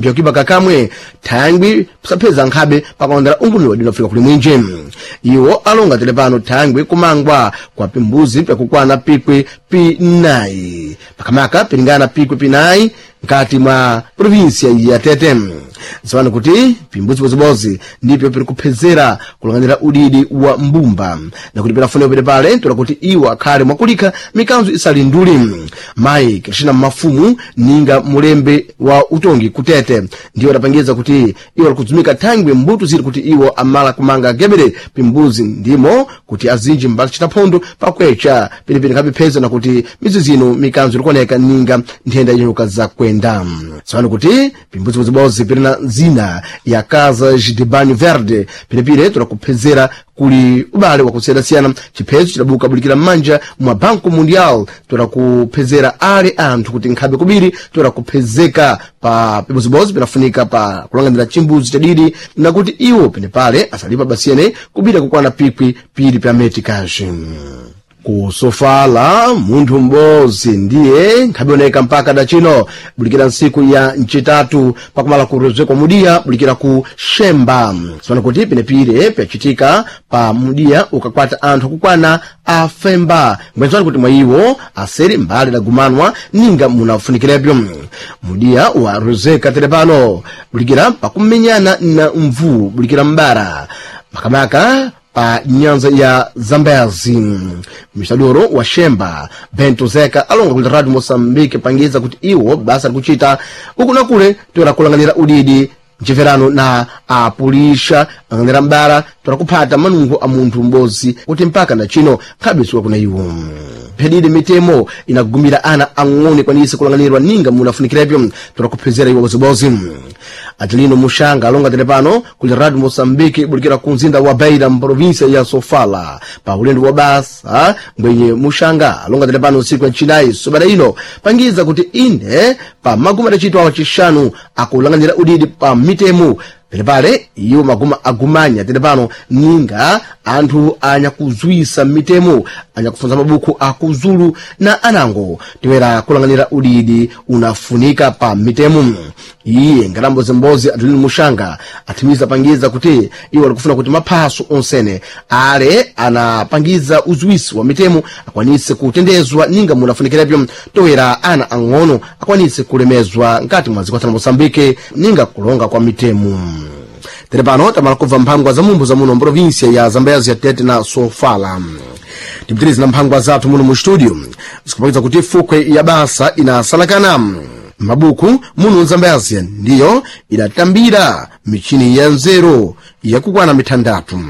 Pyakuiba kakamwe thangwi pisapheza nkhabe pakalondera ungumi wa dini afika kuli mwinje. Iwo alonga tele pano thangwi kumangwa kwa pimbuzi pyakukwana pikwi pinayi, pakamaka pilingana pikwi pinayi nkati mwa provinsia ya Tete. Ziwani kuti pimbuzi bozibozi ndipyo piri kuphezera kulang'anira udidi wa mbumba na kuti pinafunika pete pale tola kuti iwo akhale mwakulika mikanzo isali nduli. Mayi Krishina Mafumu ninga mulembe wa utongi kutete ndiwo adapangiza kuti iwo alikudzumika thangwi mbuto ziri kuti iwo amala kumanga gebere pimbuzi ndimo kuti azinji mbali chitaphondo pakwecha pilipili nkhapipheza na kuti midzi zino mikanzo ilikuoneka ninga nthenda yenyoka zakwenda. Tsopano kuti pimbuzi bozibozi pirina zina ya Casas de Banho Verde pilipili tulakuphezera kuli ubale wakusiyana-siyana. Chiphezo chidabuka bulikira m'manja mwa Banco Mundial tulakuphezera ale anthu kuti nkhabe kubiri tulakuphezeka pa pibozibozi pinafunika pa kulang'anira chimbuzi chadidi na kuti iwo penepale asalipa basiyene kubira kukwana pikwi pili pya metikaji. Kusofala munthu m'bodzi ndiye nkhabioneka mpaka dachino bulikira ntsiku ya ncitatu pakumala kurezekwa mudiya bulikira ku Shemba. Sipano kuti penepire pyacitika pa mudiya ukakwata anthu akukwana afemba ngwenzani kuti mwa iwo aseri mbali dagumanwa ninga munafunikirebyo. Mudiya warezeka tere pano bulikira pakumenyana na mvuu bulikira mbara makamaka pa nyanza ya Zambezi. Mistadoro wa Shemba Bento Zeka alonga kuti Radio Mosambike pangiza kuti iwo basa likuchita uku na kule toera kulanganira udidi mcheverano na apulisha ang'anira mbara toera kuphata manungo a munthu m'bodzi kuti mpaka na chino nkhabisuka kuna iwo. Phedide mitemo inagumira ana ang'ono ikwanise kulang'anirwa ninga munafunikirebyo toera kuphezera iwo bozibozi. Atilino Mushanga alonga tele pano kuli Radio Mosambike ibulikira ku mzinda wa Beira mprovinsia ya Sofala pa ulendo wa basa ngwenye Mushanga alonga tele pano usiku ya chinayi sobada ino pangiza kuti ine pa maguma adacitwa wacixanu akulang'anira udidi pa mitemo pelepale iwo maguma agumanya tete pano ninga anthu anyakuzwisa mitemo anyakufunza mabuku akuzulu na anango tiwera kulang'anira udidi unafunika pa mitemo. Iye ngalambozimbodzi Adelino Mushanga athimiza pangiza kuti iwo alikufuna kuti maphaso onsene ale anapangiza uzwisi wa mitemo akwanise kutendezwa ninga munafunikirebyo toera ana ang'ono akwanise kulemezwa nkati mwa dziko la Mosambike ninga kulonga kwa mitemo. Tere pano tamala kubva mphangwa za mumbu za muno mprovinsia ya Zambezi ya Tete na Sofala. Tipitirize na mphangwa zathu muno mu studio zikupakiza kuti fukwe ya basa inasalakana mabuku muno Zambezi ndiyo idatambira michini ya nzeru yakukwana mitandatu.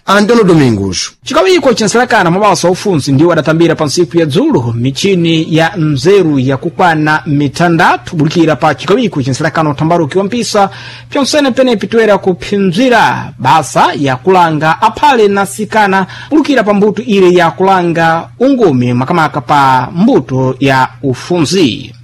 Antonio Domingos. Chikawiko chinsalakana mabasa aufunzi ndiwo adatambira pa ntsiku ya dzulo michini ya mzeru yakukwana mitandatu bulikira pa chikawiko chinsalakana utambaruki wa mpisa pyonsene penepi toera kuphinzira basa yakulanga aphale na sikana bulikira pa mbuto ile yakulanga ungumi makamaka pa mbuto ya ufunzi.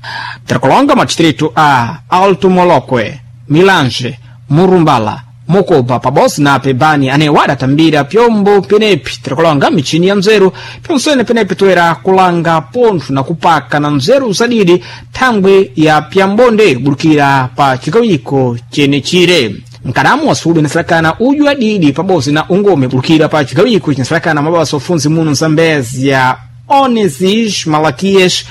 Tirakulonga madistritu a Alto Molokwe, Milange, Murumbala, Mokoba pabodzi na pebani anewo adatambira pyombo penepi tirakulonga michini ya mzeru pyonsene penepi toera kulanga pontho na kupaka na mzeru zadidi thangwi ya pyambonde bulikira pa chikawiko chenechire. Mkadamu wa inasalakana uju adidi pabodzi na ungome bulikira pa chikawiko cinasalakana mabasa ufunzi muno Zambezi ya Onesis Malaquias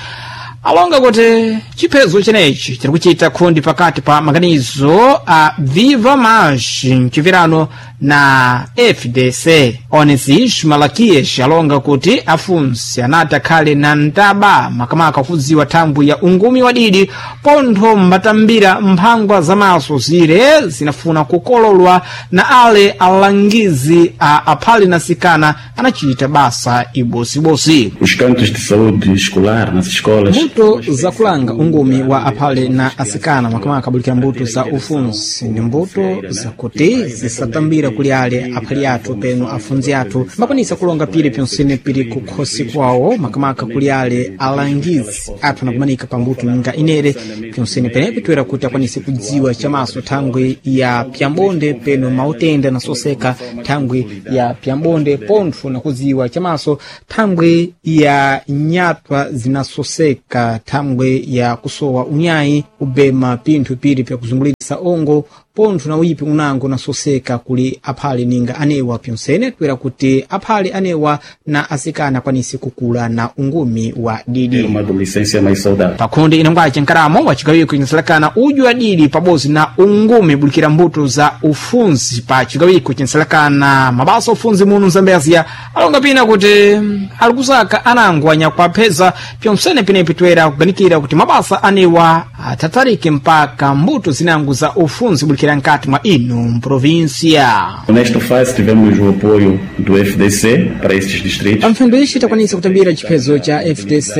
alonga kuti chiphezo chenechi chiri kuchita khundi pakati pa maganizo a Viva Mais mchipirano na FDC. Onesis Malaquias alonga kuti afunsi anati akhale na ntaba makamaka kudziwa thambwi ya ungumi wadidi pontho mbatambira mphangwa zamaso zire zinafuna kukololwa na ale alangizi a aphale na sikana anachita basa ibosibosi. Os cantos de saúde escolar nas escolas. Mbuto zakulanga ungumi wa aphale na asikana makamaka abulikira mbuto za ufunzi ndi mbuto zakuti zisatambira kuli ale aphali athu peno afunzi athu makwanisa kulonga pili pyonsene pili kukhosi kwawo makamaka kuli ale alangizi athu anakumanika pa mbuto nga inere pyonsene penepi toera kuti akwanise kudziwa chamaso thangwi ya pyambonde peno mautenda nasoseka thangwi ya pyambonde pontho nakudziwa chamaso thangwi ya nyatwa zinasoseka thangwi ya kusowa unyayi kubema pinthu pili pyakuzungulira. Ongo pontho na uyipi unango nasoseka kuli aphale ninga anewa pyonsene toera kuti aphale anewa na asikana akwanise kukula na ungumi wa didi Ter uma adolescência mais saudável. Pakhonde inangwace nkaramo wa cigawiko cinsalakana udyu wa didi pabodzi na ungumi bulikira mbuto za ufunzi pa cigawiko cinsalakana mabasa ufunzi muno Mzambezia alonga pina kuti alikusaka anango anyakuapheza pyonsene pinepi toera kuganikira kuti mabasa anewa atatarike mpaka mbuto zinango za ufunzi bulikira nkati mwa ino mprovinsia. Nesta fase tivemos o apoio do FDC para estes distritos. Pamphendo ixi takwanisa kutambira chiphezo cha FDC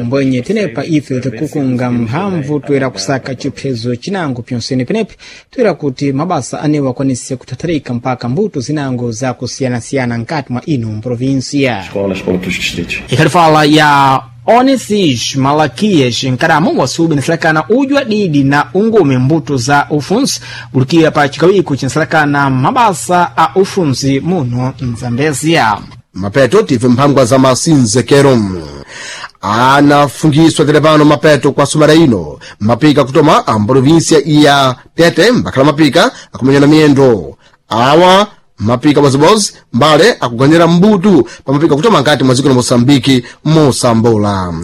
mbwenye tenepa ife tikukunga mphamvu toera kusaka chiphezo chinango pyonsene penepi toera kuti mabasa anewa akwanise kuthatharika mpaka mbuto zinango za kusiyanasiyana nkati mwa ino mprovinsia. Escolas para outros distritos. Ikhalifala ya Onesis Malakias nkaramo wasubi nasalakana udyu adidi na ungume mbuto za ufunzi bulikira pa chikawiko cinsalakana mabasa a ufunzi muno Mzambezia. Mapeto tive mphangwa za masinzekero anafungiswa telepano mapeto kwa sumana ino mapika kutoma a mprovinsia ya Tete mbakhala mapika akumenyana miyendo awa mapika bozibozi mbale akuganyira mbutu pa mapika kutoma nkati mwa dziko la Moçambike mosambola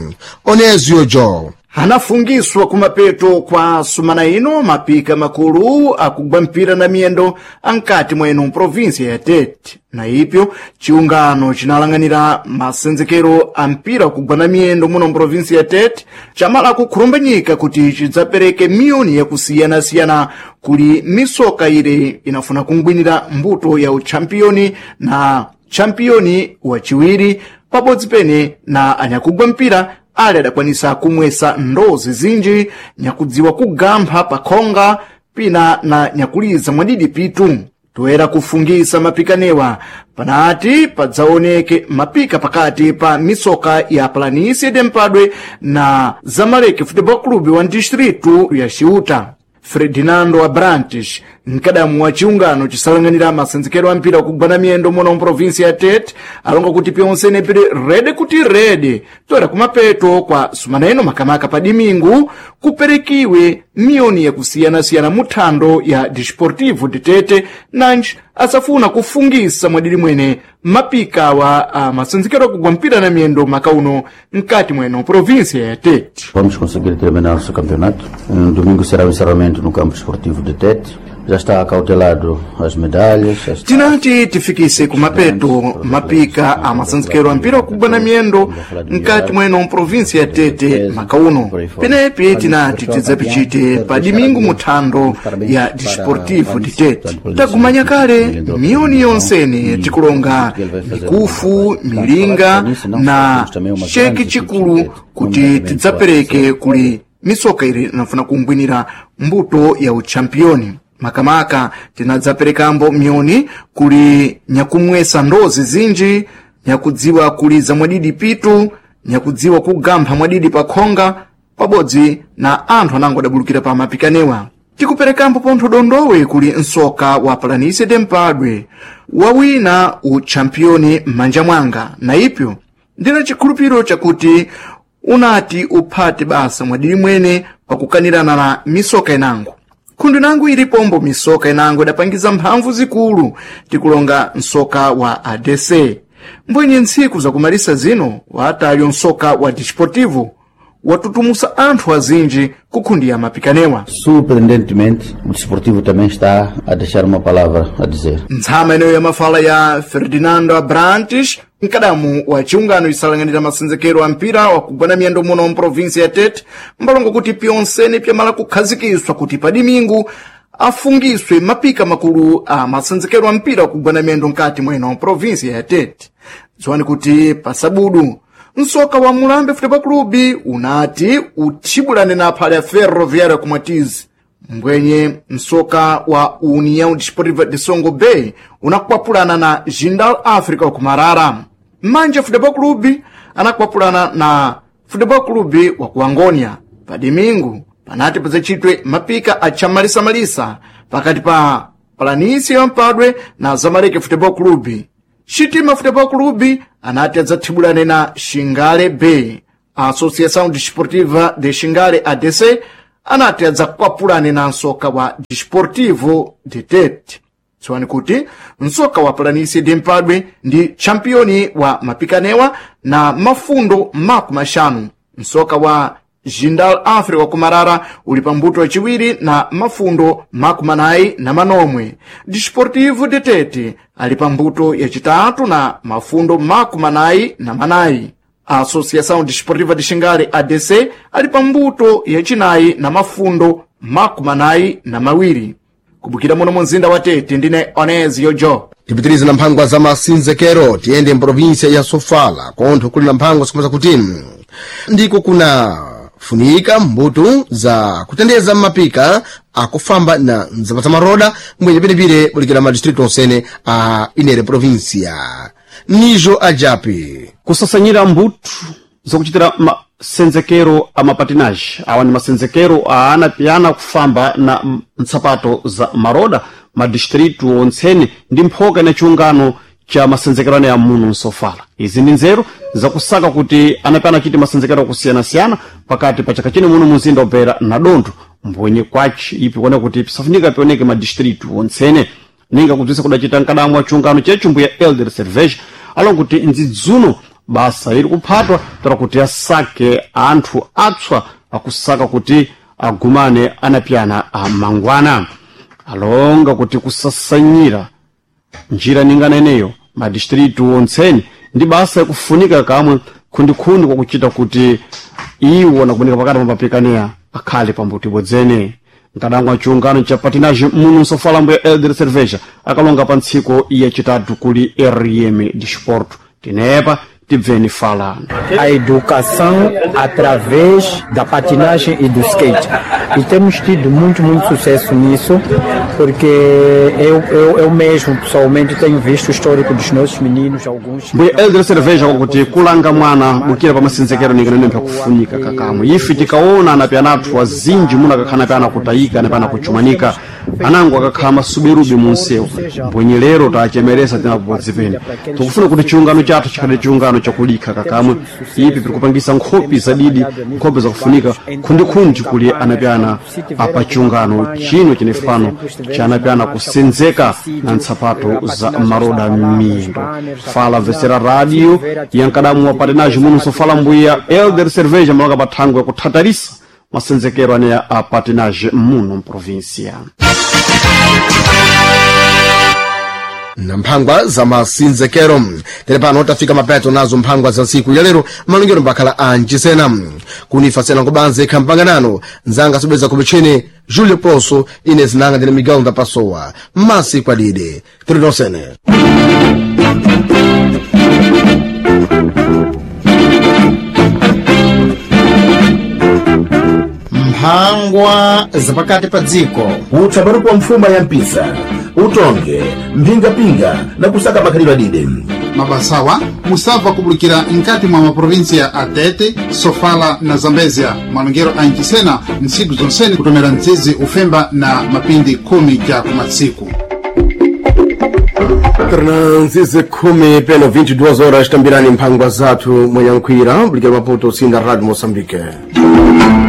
Onezio Jo. Anafungiswa kumapeto kwa sumana ino mapika makulu akugwa mpira na miyendo ankati mwenu mprovinsia ya Tete. Na ipyo chiungano chinalang'anira masenzekero a mpira wakugwa na miyendo muno mprovinsia ya Tete chamala kukhurumbanyika kuti chidzapereke miyoni yakusiyanasiyana kuli misoka ile inafuna kungwinira mbuto ya utchampiyoni na champiyoni wachiwiri pabodzi pene na anyakugwa mpira ali adakwanisa kumwesa ndozi zinji nyakudziwa kugampha pakhonga pina na nyakuliza mwadidi pitu. Toera kufungisa mapikanewa panati padzaoneke mapika pakati pa misoka ya Planície de Mpadwe na Zamalek Football Club wa distritu ya Ciuta. Ferdinando Abrantes, mkadamu wa chiungano chisalang'anira masenzekero a mpira wakugwana miyendo muno mprovinsia ya Tete, alonga kuti pyonsene pili rede kuti rede toera kumapeto kwa sumaneno makamaka pa dimingu kuperekiwe miyoni yakusiyanasiyana muthando ya Desportivo de Tete nanji asafuna kufungisa mwadidi mwene mapika wa a masenzekero akugwa mpira na miyendo makauno mkati mweno provinsia ya Tete. Vamos conseguir terminar o campeonato. No domingo será o encerramento no campo esportivo de Tete. Já está acautelado as medalhas. Já está. Tinati tifikise kumapeto mapika a masanzikero a mpira wakugwa na miyendo mkati mweno mprovinsia ya Tete makauno penepi tinati tidzapichite pa dimingu muthando ya Desportivo de Tete. Tagumanya kale miyoni yonsene tikulonga mikufu milinga na cheki chikulu kuti tidzapereke kuli misoka ili inafuna kungwinira mbuto ya utchampiyoni. Makamaka tinadzaperekambo myoni kuli nyakumwesa ndozi zinji, nyakudziwa kuliza mwadidi pitu, nyakudziwa kugampha mwadidi pakhonga pabodzi na anthu anango adabulukira pa mapikanewa. Tikuperekambo pontho dondowe kuli msoka wa Planície de Mpadwe wawina utchampiyoni m'manja mwanga, na ipyo ndina chikhulupiriro chakuti unati uphate basa mwadidi mwene pakukanirana na misoka inango. Khundu nangu ilipombo misoka inango idapangiza mphamvu zikulu tikulonga msoka wa ADC. Mbwenye ntsiku zakumalisa zino watalyo msoka wa Desportivo watutumusa anthu azinji kukhundiya mapikanewa. Surpreendentemente, o desportivo também está a deixar uma palavra a dizer. Ntsama ineyo ya mafala ya Ferdinando Abrantes, mkadamu wa chiungano isalang'anira masenzekero a mpira wakugwana miyendo muno mprovinsia ya Tete, mbalongo kuti pyonsene pyamala kukhazikiswa kuti pa dimingu afungiswe mapika makulu a masenzekero a mpira wakugwana miyendo mkati mweno mprovinsia ya Tete. Dziwani kuti pasabudu msoka wa Mulambe Football Club unati uthibulane na aphale ya Ferroviário kumwatizi, mbwenye msoka wa União Desportiva de Songo Bay unakwapulana na Jindal Africa wakumarara. Manje Football Club anakwapulana na Football Club wa ku Angonia. Pa dimingu panati padzachitwe mapika achamalisamalisa pakati pa Planície ya Mpadwe na Zamalek Football Club. Xitima Futebol Clube anati adzathibulane na Xingale B. A Associação Desportiva de Xingale ADC Anati adzakwapulane na nsoka wa Desportivo de Tete. Tsoani kuti nsoka wa Planície de Mpadwe ndi championi wa mapikanewa na mafundo 50. Nsoka wa Jindal Africa wa kumarara uli pambuto waciwiri na mafundo 47. Desportivo de Tete ali pambuto yacitatu na mafundo 44. A Associação Desportiva de Xingale ADC ali pambuto yacinayi na mafundo 42. Kubukira muno mu mzinda wa Tete ndine Onezio Jo. Tipitirize na mphangwa za masinzekero, tiyende mprovinsia ya Sofala kontho kuli na mphangwa zikumeza kuti ndiko kuna funika mbuto za kutendeza mmapika akufamba na nzapa za maroda mbwenye penepire bulikira madistritu onsene a inere provinsia. Nijo ajapi Kusasanyira mbuto zakuchitira masenzekero a mapatinaji. Awa ni masenzekero aana piyana kufamba na ntsapato za maroda madistritu ontsene ndi mphoka na chiungano cha masenzekero ane ya muno nsofala. Izi ndi nzeru zakusaka kuti anapiyana achite masenzekero akusiyana-siyana pakati pa chaka chino muno muzinda obera na dontho mbwenye kwachi ipi kuona kuti pisafunika pioneke madistritu ontsene. Ninga kubzisa kudachita mkadamwa chiungano chechu mbuya Elder Cerveja alonga kuti ndzidzuno basa iri kuphatwa tara kuti asake anthu atswa akusaka kuti agumane anapiyana amangwana. Alonga kuti kusasanyira njira ningana ineyo madistritu ontseni ndi basa yakufunika kamwe khundikhundi kwakuchita kuti iwo nakuoneka pakati pa mapikaneya akhale pambuto ibodzene. Mkadangwa chiungano cha patinage muno nsofala mbuya Elder Cerveja akalonga pa ntsiko yacitatu kuli RM Disporto. Tinepa tibveni falano. A educação através da patinagem e do skate. E temos tido muito, muito sucesso nisso, porque eu mesmo, pessoalmente, tenho visto o histórico dos nossos meninos, alguns... Mbuya Elder Cerveja kwakuti kulanga mwana bukira pa masenzekero ningana nembe kufunika kakamwe. Ife tikaona anapiyana athu azinji muno akakhala anapiyana kutayika, anapiyana kuchumanika, anango akakhala masuberubi munsewu. Mbwenye lero tachemeresa tinapobodzi pene tikufuna kuti chiungano chathu chikhale chiungano chakulikha kakamwe. Ipi pirikupangisa nkhopi zadidi, nkhopi zakufunika khundikhundi kuli anapiyana apa chiungano chino chinefano cha anapiyana kusenzeka na ntsapato za maroda m'miyendo. Fala vesera radio yankadamu wa patinage muno sofala mbuya Elder Cerveja malonga pathangwe yakuthatarisa masenzekero aneya a patinage muno mprovinsia. Na mphangwa za masinzekero. Tere pano tafika mapeto nazo mphangwa za ntsiku ya lero, malongero mbakhala a mchisena kunifa sena kubanze khampanganano nzanga sobweza kumichini Julio Poso ine zinanga ndine Miguel Ndapasowa masi kwadide tiri nonsene. Mphangwa zapakati pa dziko. Utsabaruku wa mfuma ya mpisa utonge mphingapinga na kusaka makhalidwe adide. Mabasawa musabva kubulikira nkati mwa maprovinsia a Tete, Sofala na Zambezia. Malongero a Ncisena ntsiku zonsene kutomera mdzidzi ufemba na mapindi 10 ja kumatsiku. Torna nzizi 10 peno 22 horas tambirani mphangwa zathu mwenyankhwira bulikira Maputo sinda Radio Moçambique.